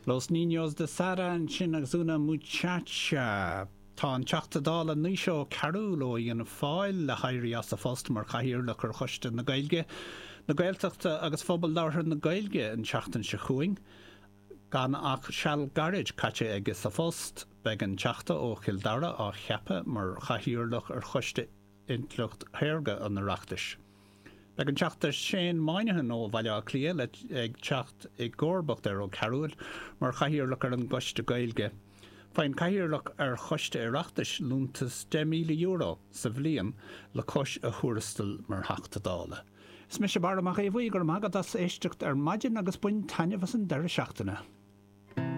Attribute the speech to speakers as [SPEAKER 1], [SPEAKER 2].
[SPEAKER 1] Los Niños de Sara ansin agus Una Muchacha. Tá an Teachta Dála Naoise Ó Cearúil ó Fhianna Fáil le héirí as a phost mar Chathaoirleach ar Choiste na Gaeilge, na Gaeltachta agus Phobal Labhartha na Gaeilge an tseachtain seo chugainn. Gan ach seal gairid caite aige sa phost, beidh an Teachta ó Chill Dara á cheapadh mar Chathaoirleach ar Choiste Intleacht Shaorga an Oireachtais. Beidh an Teachta Shane Moynihan ó Bhaile Átha Cliath le ag teacht i gcomharbacht ar Ó Cearúil mar Chathaoirleach ar an gCoiste Gaeilge. Faigheann Cathaoirleach ar Choiste Oireachtais liúntas €10,000 sa bhliain le cois a thuarastail mar Theachta Dála. Is mise Barra Mac Aodha Bhuí, go raibh maith agat as éisteacht ar maidin agus bain taitneamh as an deireadh seachtaine.